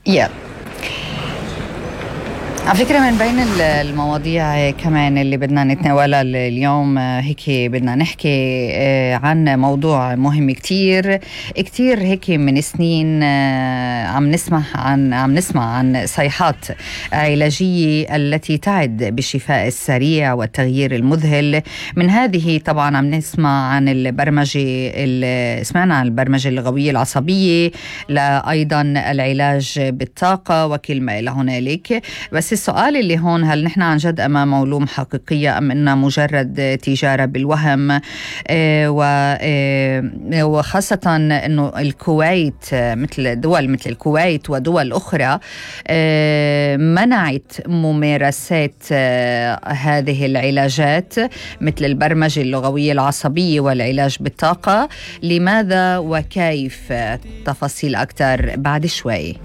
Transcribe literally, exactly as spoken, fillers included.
yeah. على فكرة من بين المواضيع كمان اللي بدنا نتناولها اليوم هيك بدنا نحكي عن موضوع مهم كتير كتير. هيك من سنين عم نسمع عن عم نسمع عن صيحات علاجية التي تعد بالشفاء السريع والتغيير المذهل. من هذه طبعا عم نسمع عن البرمجة، سمعنا عن البرمجة اللغوية العصبية، لا أيضا العلاج بالطاقة وكلمة إلى هنالك. بس السؤال اللي هون، هل نحن عن جد أمام علوم حقيقية أم إنها مجرد تجارة بالوهم؟ اه اه وخاصة إنه الكويت مثل دول مثل الكويت ودول أخرى اه منعت ممارسات اه هذه العلاجات مثل البرمجة اللغوية العصبية والعلاج بالطاقة. لماذا وكيف؟ تفاصيل أكثر بعد شوي.